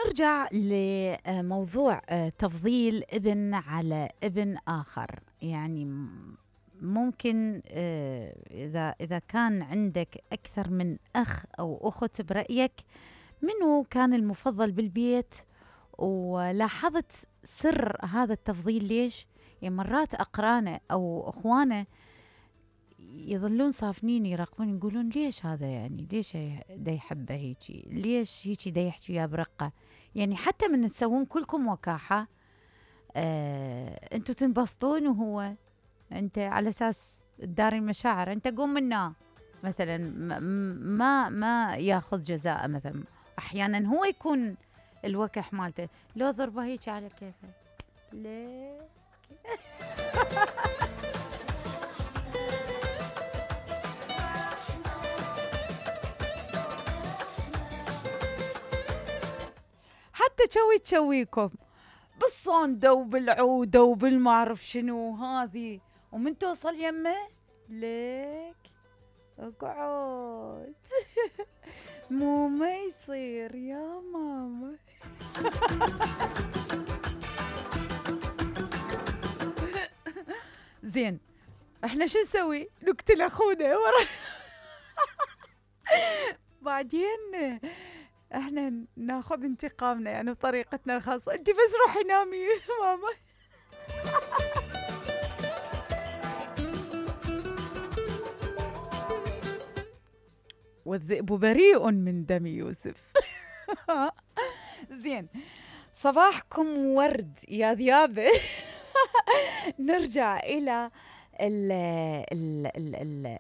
نرجع لموضوع تفضيل ابن على ابن آخر. يعني ممكن إذا كان عندك أكثر من أخ أو أخت، برأيك منو كان المفضل بالبيت؟ ولاحظت سر هذا التفضيل ليش؟ يعني مرات أقرانه أو أخوانه يظلون صافنين يراقبون يقولون ليش هذا، يعني ليش دا يحبه هيجي، ليش هيجي دا يحكي وياه برقة. يعني حتى من تسوون كلكم وكاحة انتوا تنبسطون وهو انت على اساس تداري المشاعر، انت قوم منا مثلا ما ياخذ جزاء مثلا. احيانا هو يكون الوكح مالته، لو ضربه هيك على كيفه ليه. حتى تشويكم بالصندة وبالعودة وبالمعرف شنو هذه، ومن توصل يمه ليك اقعد. مو ما يصير يا ماما. زين، احنا شو نسوي؟ نقتل اخونا ورا. بعدين احنا ناخذ انتقامنا يعني بطريقتنا الخاصة. انت بس روحي نامي ماما. والذئب بريء من دم يوسف. زين، صباحكم ورد يا ذيابة. نرجع إلى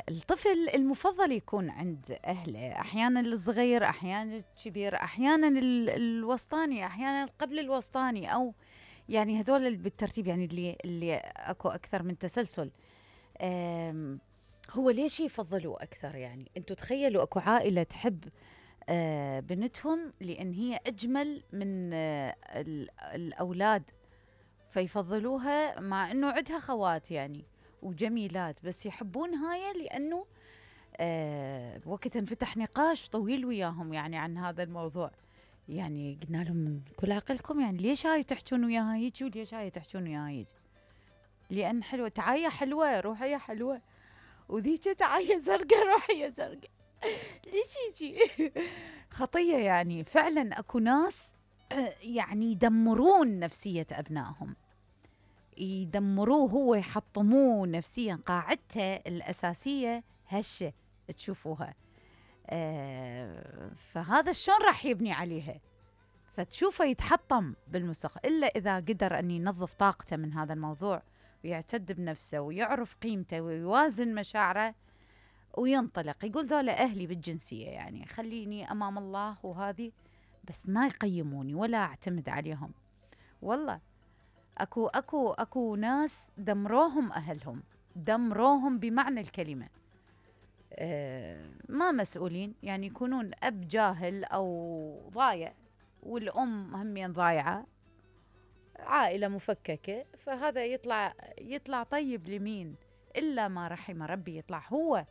الطفل المفضل يكون عند أهله، أحيانا الصغير، أحيانا الكبير، أحيانا الوسطاني، أحيانا قبل الوسطاني، أو يعني هذول بالترتيب، يعني اللي أكو أكثر من تسلسل. هو ليش يفضلوا أكثر؟ يعني أنتوا تخيلوا أكو عائلة تحب بنتهم لأن هي أجمل من الأولاد، فيفضلوها مع أنه عندها خوات يعني وجميلات، بس يحبون هاي لأنه وقت انفتح نقاش طويل وياهم يعني عن هذا الموضوع. يعني قلنا لهم من كل عقلكم، يعني ليش هاي تحجون وياها هيجي وليش هاي تحجون وياها هيجي؟ لأن حلوة، تعاية حلوة روحية حلوة، وذيك تعاية زرقاء روحية زرقاء. ليش يجي؟ خطية يعني. فعلا أكو ناس يعني يدمرون نفسية أبنائهم، يدمروه، هو يحطموه نفسيا، قاعدته الأساسية هشة تشوفوها. فهذا شلون راح يبني عليها؟ فتشوفه يتحطم بالمستقبل، إلا إذا قدر أن ينظف طاقته من هذا الموضوع ويعتد بنفسه ويعرف قيمته ويوازن مشاعره وينطلق، يقول ذولا أهلي بالجنسية، يعني خليني أمام الله وهذه، بس ما يقيموني ولا أعتمد عليهم. والله أكو ناس دمروهم أهلهم، دمروهم بمعنى الكلمة. ما مسؤولين، يعني يكونون أب جاهل أو ضايع، والأم همين ضايعة، عائلة مفككة، فهذا يطلع طيب لمين؟ إلا ما رحم ربي، يطلع هو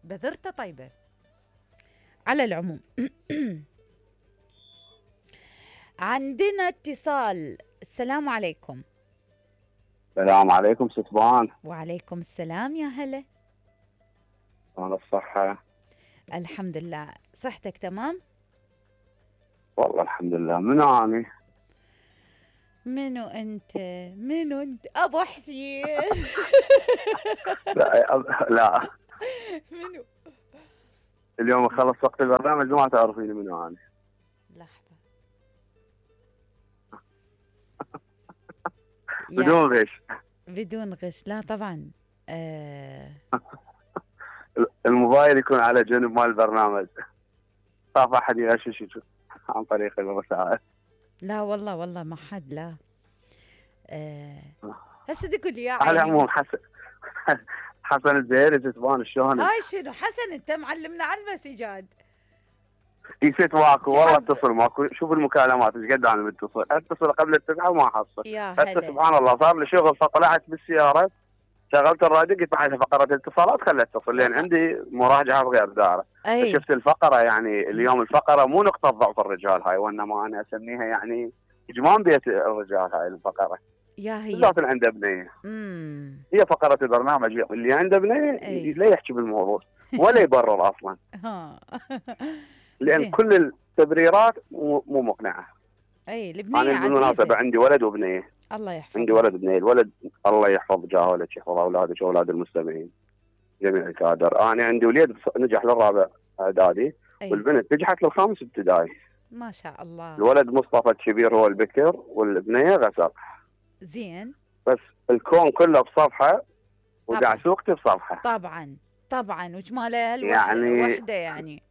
بذرته طيبة. على العموم عندنا اتصال. السلام عليكم. السلام عليكم ستبان. وعليكم السلام، يا هلا. أنا الصحة؟ الحمد لله. صحتك تمام؟ والله الحمد لله. منو أني؟ منو أنت أبو حسين؟ لا منو؟ اليوم خلص وقت البرنامج ما تعرفيني منو أني. لحظة. بدون غش. بدون غش، لا طبعا. الموبايل يكون على جنب مال البرنامج، خاف أحد يغشش عن طريق الرسائل. لا والله ما حد، لا. هسه تقول لي يا على العموم حسن الزهيري ستبان شلونك؟ هاي شنو حسن؟ انت معلمنا على المسجات. يست ماكو والله، اتصل ماكو. شوف المكالمات ايش قد انا متصل، اتصل قبل 9 وما حصل. يا هسه هلا. سبحان الله صار لي شغل، فطلعت بالسياره شغلت الراديو قلت بعد فقره الاتصالات خلت تصل، لان عندي مراجعه بغير دائره. اي فشفت الفقره، يعني اليوم الفقره مو نقطه ضعف الرجال هاي، وانما انا اسميها يعني اجمام بيت الرجال هاي الفقره، يا هي بالذات اللي عنده بنيه. هي فقره البرنامج اللي عنده بنيه اي لا يحكي بالموضوع ولا يبرر اصلا، ها لان زين. كل التبريرات مو مقنعه. اي انا البنية بالمناسبه عزيزة. عندي ولد وبنيه. الله عندي يحفظهم. ولد وبنيه. الولد الله يحفظ جاهلك، يحفظ اولادك واولاد المستمعين جميع الكادر. انا عندي وليد نجح للرابع اعدادي، اي والبنت نجحت للخامس ابتدائي. ما شاء الله. الولد مصطفى الكبير هو البكر، والبنيه غسق. زين. بس الكون كله بصفحه، طبعا ودعسوقتي بصفحه. طبعا طبعا، وجمالها يعني الوحدة يعني.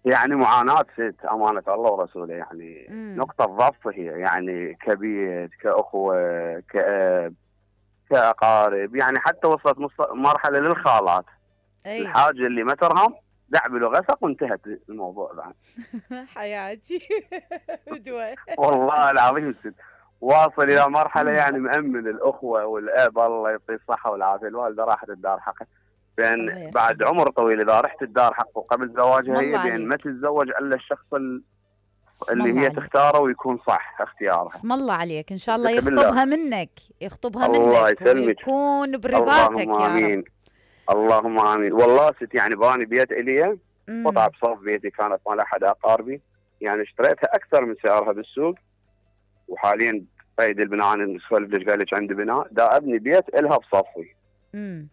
يعني معاناه ست، امانه الله ورسوله. يعني امم نقطه ضعف هي، يعني كبيت، كاخوه، كاب، كاقارب. يعني حتى وصلت مرحله للخالات. اي الحاجه اللي ما ترهم دعبل وغسق وانتهت الموضوع بعد. حياتي بدوى. والله العظيم ست، واصل الى مرحله يعني مأمن الاخوه والاب الله يعطيه الصحه والعافيه. الوالده راحت الدار حقها، بان الله بعد يرحمها. عمر طويل اذا رحت الدار حقه قبل اسم زواجها الله هي، بان ما عليك. تتزوج الا الشخص اسم اللي الله هي عليك. تختاره ويكون صح اختيارها. اسم الله عليك، ان شاء الله قلت بالله يخطبها منك، يخطبها الله منك يسلمك، ويكون اللهم برضاتك يا رب. امين، اللهم امين. والله ست يعني باني بيت الي قطعه امم بصف بيتي كانت مال احد اقاربي، يعني اشتريتها اكثر من سعرها بالسوق. وحاليا قيد البناء، انا نسولف ليش قال لك عندي بناء، دا ابني بيت الها بصفي امم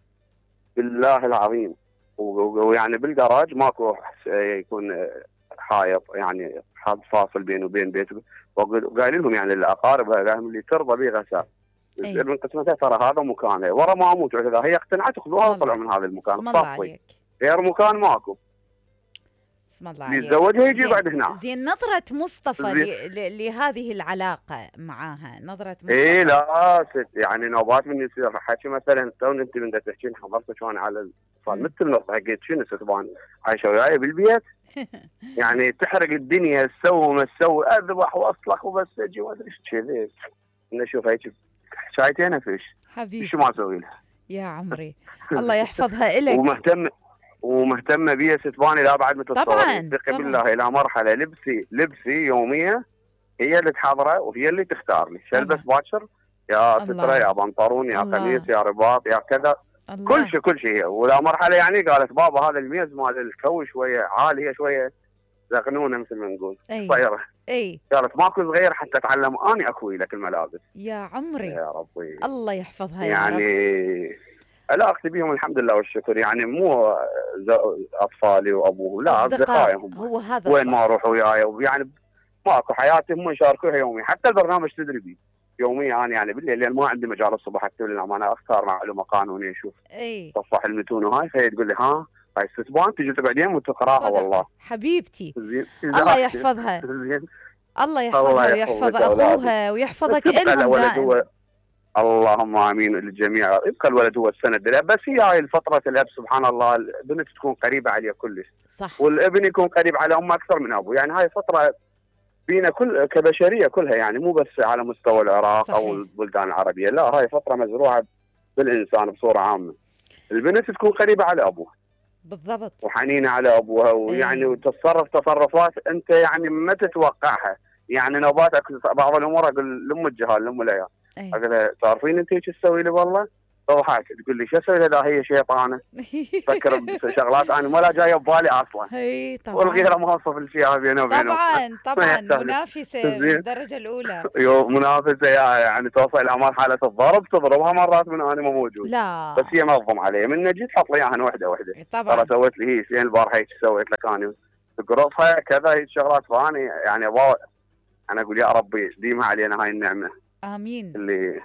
بالله العظيم. ويعني بالجراج ماكو يكون حائط، يعني حاط فاصل بينه وبين بيته. وقايل لهم يعني الاقارب قال لهم اللي ترضى به غساء يصير اي من قسمتها، ترى هذا مكانها ورا ما اموت. اذا هي اقتنعت خذوها اسم وطلعوا الله. من هذا المكان اسم الله بصفي، عليك. غير مكان ماكو. اسم الله اللي عليك. يتزوجها يجي زين يقعد هنا. زين. نظرة مصطفى زين. لهذه العلاقة معاها، نظرة ايه مصطفى. لا ست، يعني نوبات من يصير حكي مثلا تو انت من تحكين حضرتك وانا على الاتصال مثل نص حكيت شنو ستبان عايشه وياي بالبيت. يعني تحرق الدنيا، تسوي وما تسوي، اذبح واصلخ وبس اجي ما ادري ايش كذي. انا اشوف هيك شايتين فيش شو ما حبيبتي اسوي لها. يا عمري، الله يحفظها إلك. ومهتمه بي ستباني لا بعد متصورين. طبعا ثقي طبعا بالله الى مرحله لبسي يوميه هي اللي تحضره وهي اللي تختار لي شلبس طبعا. باكر، يا ستره، الله يا بنطلون، يا قميص، الله يا رباط، يا كذا. كل الله. شيء كل شيء. ولا مرحله يعني قالت بابا هذا الميز مال الكوي شويه عاليه شويه زغنونه مثل ما نقول اي صغيره. اي قالت ماكو صغير حتى اتعلم اني اكوي لك الملابس. يا عمري، يا ربي. الله يحفظها يا رب. يعني علاقتي بهم الحمد لله والشكر، يعني مو اطفالي وابوهم، لا أصدقاء، اصدقائهم. هو هذا وين ما الصح. اروح وياي يعني ماكو حياتي هم يشاركوها يوميا. حتى البرنامج تدري بي يوميا. انا يعني بالليل لان ما عندي مجال الصبح اكتب لهم، انا اختار معلومه قانونيه اشوف اي صفح المتون وهاي، فهي تقول لي ها هاي استثبان تجي تقعدين وتقراها. صدقة والله حبيبتي. زين الله يحفظها، زين. الله الله يحفظها ويحفظ يحفظك اولادك. أخوها بس ويحفظك يبقى إلهم الولد دائم. هو، اللهم امين للجميع، يبقى الولد هو السند له. بس هي هاي الفتره الاب سبحان الله البنت تكون قريبه عليه كلش، صح والابن يكون قريب على امه اكثر من ابوه. يعني هاي فتره بينا كل كبشريه كلها، يعني مو بس على مستوى العراق او صحيح. البلدان العربيه، لا هاي فتره مزروعه بالانسان بصوره عامه. البنت تكون قريبه على ابوها بالضبط. وحنينه على ابوها، ويعني اي وتتصرف تصرفات انت يعني ما تتوقعها. يعني نوبات بعض الامور اقول لام الجهال لام العيال، اي اقول لها تعرفين انت ايش تسوي لي والله؟ تضحك تقول لي شو اسوي لها؟ لا هي شيطانه تفكر بشغلات انا ما لا جايه ببالي اصلا، اي طبعا والغيره ما اوصف الاشياء بينه وبينهم. طبعا ما طبعا، يحتاج. منافسة من زين. الدرجة الأولى. منافسه يعني توصل الى مرحله الضرب، تضربها مرات من انا ما موجود. لا بس هي منظم علي من نجي تحط لي اياها وحده وحده. ترى طبعا سويت لي هي زين البارحه هيك سويت لك انا تقرصها كذا هيك شغلات. فاني يعني انا اقول يا ربي ديمها علينا هاي النعمه آمين. اللي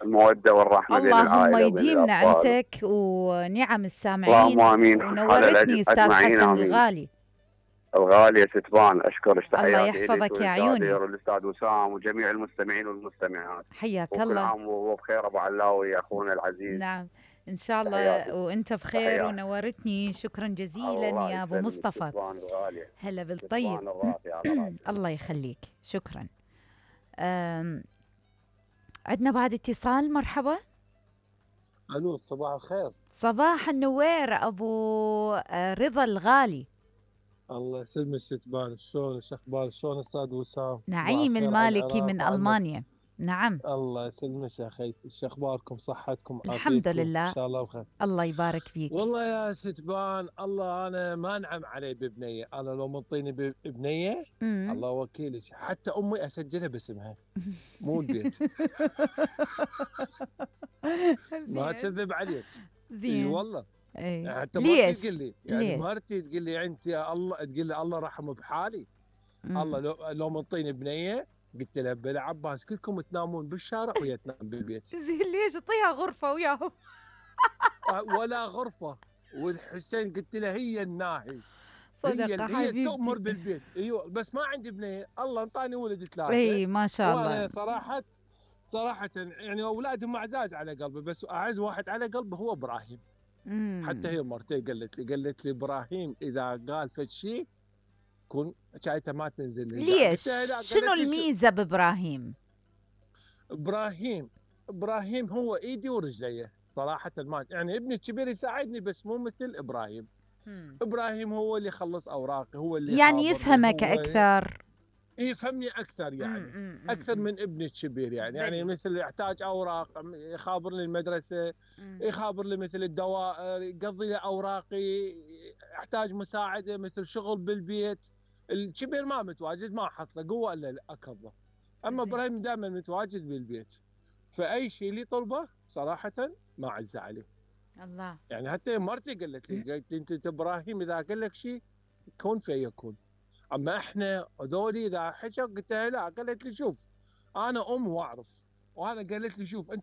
الموده والرحمه بين اللهم العائله وبين يديم الاطفال. نعمتك ونعم اللهم السامعين، امين على ونورتني أستاذ اجمعين حسن امين. الغالي. الغالية ستبان اشكرك، الله تحياتي اليك يحفظك يا عيوني. وللكادر والاستاذ وسام وجميع المستمعين والمستمعات. حياك وكل الله. عام وهو بخير ابو علاوي اخونا العزيز. نعم إن شاء تحياتي الله وأنت بخير، تحياتي. ونورتني. شكرا جزيلا الله يا أبو يسلمك مصطفى. ستبان الغالية، هلا بالطيب. ستبان الراقي على راسي. الله يخليك، شكرا. عندنا بعد اتصال. مرحبا. الو، صباح الخير. صباح النوير ابو رضا الغالي. الله يسلمك ست بان، شلون شو اخبار؟ شلون استاذ وسام؟ صباح نعيم الخير على المالكي العراق من وعلى المانيا. نعم. الله يسلمك يا اخي، شو اخباركم؟ صحتكم الحمد عافيتكم ان لله. شاء الله بخير. الله يبارك فيك. والله يا ست بان، الله انا ما انعم علي ببنيه، انا لو منطيني ببنيه أمم. الله وكيلك حتى امي اسجلها باسمها، مو البيت. ما زين. اكذب عليك. اي زين. والله. اي يعني حتى مرتي تقول ليش؟ لي، يعني ليش؟ مرتي تقول لي انت يا الله، تقول لي الله رحمه بحالي. الله أمم. لو منطيني بنيه، قلت له بلا عباس كلكم تنامون بالشارع وهي تنام بالبيت. زين ليش؟ اعطيها غرفة وياهم. ولا غرفه. والحسين قلت له هي الناهي. صدقة هي حبيبتي. تؤمر بالبيت، ايوه، بس ما عندي بنيه، الله انطاني ولد ثلاثه. اي ما شاء وانا الله. صراحه يعني اولادهم اعزاز على قلبي، بس اعز واحد على قلبي هو ابراهيم. حتى امم. هي مرتي قالت لي ابراهيم اذا قال فد شيء كن شايته ما تنزل نزاع، ليش؟ قلت لها لا، شنو قالت لي شو. الميزة بإبراهيم؟ ابراهيم ابراهيم هو ايدي ورجلي صراحه، ما يعني ابني الكبير يساعدني بس مو مثل ابراهيم. مم. ابراهيم هو اللي يخلص اوراقي، هو اللي يعني يخابرني، يفهمك هو أكثر. يفهمني اكثر يعني. اكثر أمم. من ابني الكبير يعني بلي. مثل يحتاج اوراق يخابر لي المدرسه، مم. يخابر لي مثل الدوائر، يقضي لي اوراقي، يحتاج مساعده مثل شغل بالبيت. الكبير ما متواجد، ما حصله قوه الا اكظه. اما زين. ابراهيم دائما متواجد بالبيت، فاي شيء اللي طلبه صراحه ما عز عليه. الله. يعني حتى مرتي قالت لي انت ابراهيم اذا قال لك شيء كن فيكون. اما احنا هذولي اذا حكى قلت لها لا، قالت لي شوف انا ام واعرف، وانا قالت لي شوف انت